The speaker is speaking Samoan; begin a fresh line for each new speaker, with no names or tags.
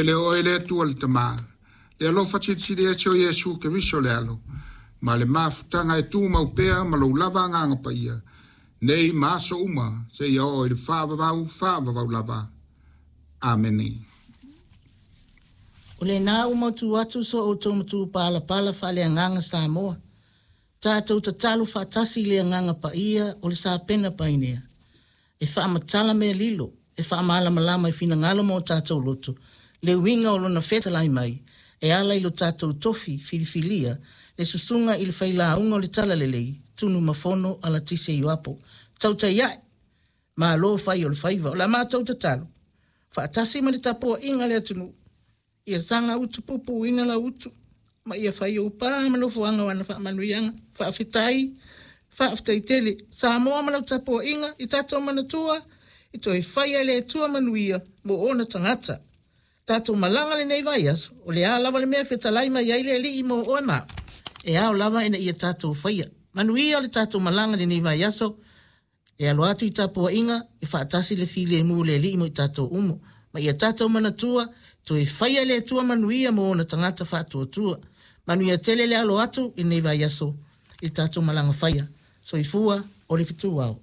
Le oe le Atua le Tama, le alofa silisili ese o Iesu Keriso le Alo, ma le mafutaga e tumau pea ma lou lava Agaga Paia, nei ma aso uma, seia oo i le faavavau faavavau lava. Amene.
O lena ua mautu atu so outou matupalapala faaleagaga Samoa, tatou tatalo faatasi i le Agaga Paia o le Sapena Painea, e faamatala mea lilo, e faamalamalama i finagalo ma o tatou loto, le uiga o lona fetalai mai, e ala i lo tatou tofi filifilia, le susuga i le failauga o le Talalelei, Tunumafono Alatise Ioapo. Tautai ae, malo fai o le faiva. O la matou tatalo, faatasi ma le tapuaiga a le atunuu, Ia saga utupupuina lau utu, ma ia fai ou pa ma nofoaga o ana faamanuiaga. Faafetai, faafetai tele. Samoa ma lau tapuaiga i tatou manatua, i toe faia e le Atua manuia mo ona tagata. Tatou malaga lenei vaiaso, o le a lava le mea e fetalai mai ai le Alii mo oe ma au, e ao lava ina ia tatou faia. Manuia le tatou malaga lenei vaiaso, E alo atu i tapuaiga e faatasi le filemu o le Alii mo i tatou uma, ma ia tatou manatua, toe faia e le Atua manuia mo ona tagata faatuatua. Manuia tele le alo atu i lenei vaiaso i le tatou malaga faia. Soifua o le fetuao.